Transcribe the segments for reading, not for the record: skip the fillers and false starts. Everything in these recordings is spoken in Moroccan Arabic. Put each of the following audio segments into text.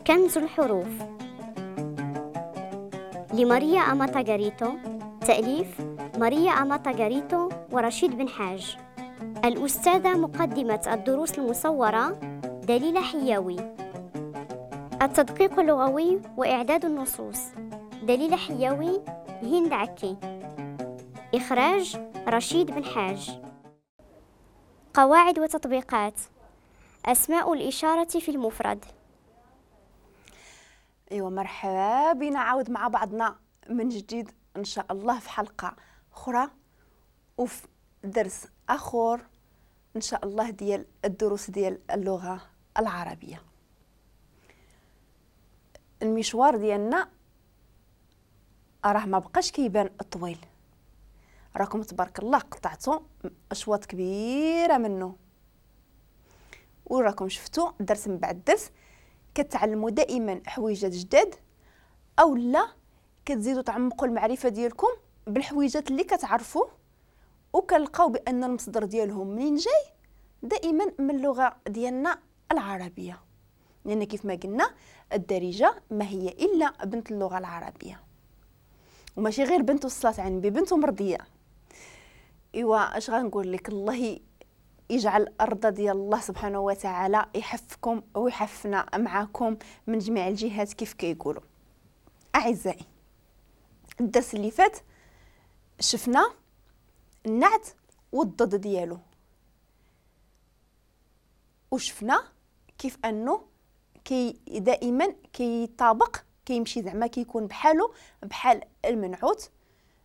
كنز الحروف لماريا أماتاغاريتو، تأليف ماريا أماتاغاريتو ورشيد بن حاج. الأستاذة مقدمة الدروس المصورة دليلة حياوي. التدقيق اللغوي وإعداد النصوص دليلة حياوي، هند عكي. إخراج رشيد بن حاج. قواعد وتطبيقات. أسماء الإشارة في المفرد. ايوا مرحبا بنا عاود مع بعضنا من جديد ان شاء الله في حلقة اخرى وفي درس اخر ان شاء الله ديال الدروس ديال اللغة العربية. المشوار ديالنا راه ما بقاش كيبان طويل، راكم تبارك الله قطعتوا اشواط كبيرة منه، وراكم شفتوا درس من بعد درس كتعلموا دائما حويجات جداد او لا كتزيدوا تعمقوا المعرفة ديالكم بالحويجات اللي كتعرفوا، وكنلقاو بان المصدر ديالهم منين جاي دائما من اللغة ديالنا العربية، لان كيف ما قلنا الدارجة ما هي الا بنت اللغة العربية، وماشي غير بنت وصلت عن بنت ومرضيه. ايوا اش غنقول لك، الله يجعل الارض ديال الله سبحانه وتعالى يحفكم ويحفنا معاكم من جميع الجهات كيف كيقولوا. اعزائي، الدرس اللي فات شفنا النعت والضد ديالو، وشفنا كيف انه كي دائما كيطابق كيمشي زعما كيكون بحالو بحال المنعوت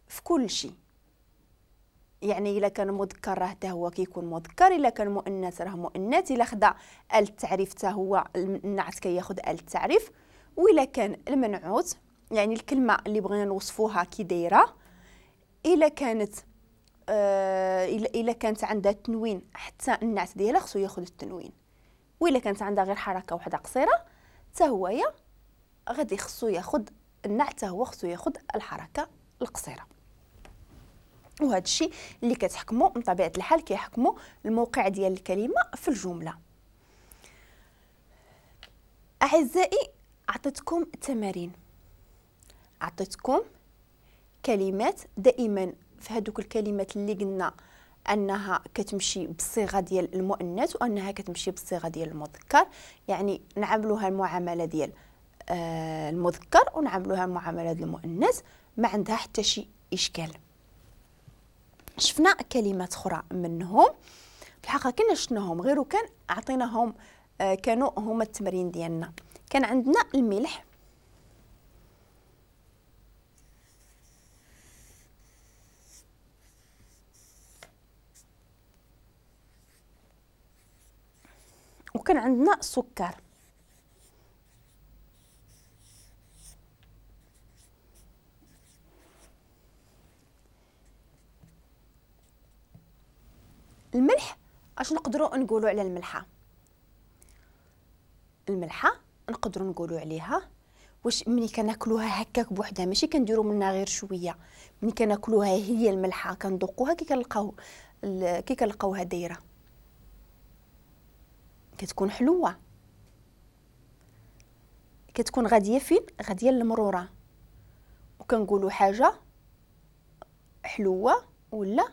في كل شيء. يعني الا كان مذكر راه حتى هو كيكون مذكر، الا كان مؤنث راه مؤنث، الا خدا ال التعريف حتى هو النعت كياخذ ال التعريف، والا كان المنعوت يعني الكلمة اللي بغينا نوصفوها كي دايرة، الا كانت الا كانت عندها تنوين حتى النعت ديالها خصو ياخذ التنوين، والا كانت عندها غير حركة واحدة قصيرة حتى هو غادي خصو ياخذ النعت، حتى هو خصو ياخذ الحركة القصيرة. وهذا الشيء اللي كتحكموا من طبيعة الحال كيحكموا الموقع ديال الكلمة في الجملة. اعزائي، عطيتكم تمارين، عطيتكم كلمات دائما في هذوك الكلمات اللي قلنا انها كتمشي بالصيغه ديال المؤنث وانها كتمشي بالصيغه ديال المذكر، يعني نعاملوها المعاملة ديال المذكر ونعاملوها المعاملة ديال المؤنث، ما عندها حتى شي اشكال. شفنا كلمات اخرى منهم، في الحقيقة كنا شفناهم غير وكان عطيناهم كانوا هما التمرين ديالنا. كان عندنا الملح، وكان عندنا السكر. الملح اش نقدروا نقولوا على الملحة؟ الملحة نقدروا نقولوا عليها واش ملي كناكلوها هكاك بوحدها، ماشي كنديروا منها غير شوية، ملي كناكلوها هي الملحة كندوقوها كي كنلقاوها دايرة كتكون حلوة، كتكون غادية فين؟ غادية للمروره، وكنقولوا حاجة حلوة ولا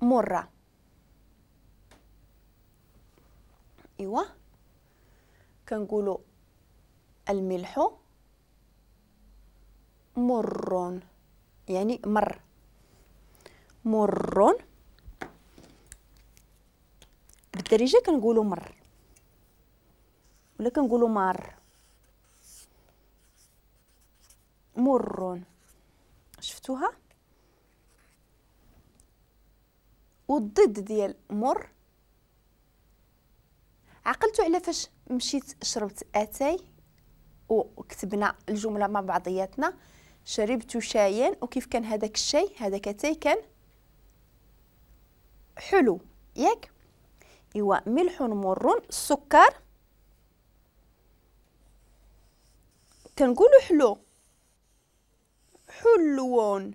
مرة. ايوا كنقولوا الملح مر، يعني مر، مر بالدارجة كنقولوا مر ولا كنقولوا مار، مر. شفتوها؟ والضد ديال مر، عقلتوا على فاش مشيت شربت اتاي وكتبنا الجملة مع بعضياتنا، شربت شايا، وكيف كان هذاك الشاي؟ هذاك اتاي كان حلو، ياك؟ ايوا ملح مر، السكر كنقولوا حلو، حلو.